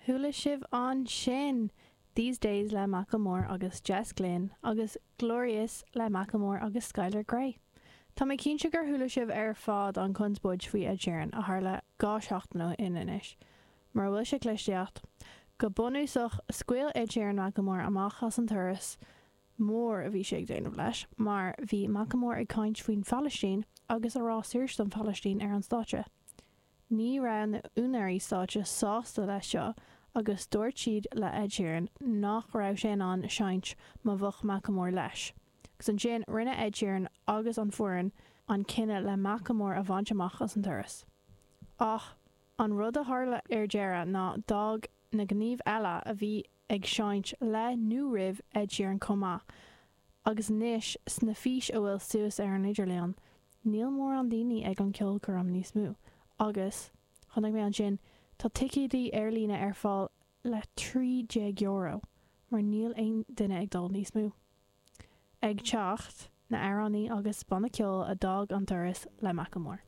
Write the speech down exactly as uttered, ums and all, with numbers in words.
Chuala sibh ansin These Days le Macklemore agus Jess Glynne agus Glorious le Macklemore agus Skylar Grey. Tá mé cinnte gur chuala sibh ar fad an conspóid faoi Ed Sheeran a tharla dhá sheachtain ó shin anois. Mar bhfuil sé clisteacht, go bunúsach scaoil Ed Sheeran Macklemore amach as an turas mór a bhí sé ag déanamh leis, mar bhí Macklemore ag caint faoin Phalaistín agus ag rá saoirse don Phalaistín ar an stáitse. Ní raibh na úinéirí stáitse sásta leis seo agus dúirt siad le Ed Sheeran nach raibh sé in ann seinnt má bheadh Macklemore leis. Agus ansin rinne Ed Sheeran agus an foireann an cinneadh le Macklemore a bhaint amach as an turas. Ach an rud a tharla ar deireadh ná d'fhág na gníomh eile a bhí ag seinnt le nó roimh Ed Sheeran chomh maith, agus anois sna fís a bhfuil suas ar an idirlíon, níl mórán daoine ag an ceolchoirm níos mó, agus chonaic mé ansin tá ticéidí ar líne ar fáil le trí déag euro, mar níl aon duine ag dul níos mó. Ag teacht na amhránaí agus banna ceoil a d'fhág an turas le Macklemore.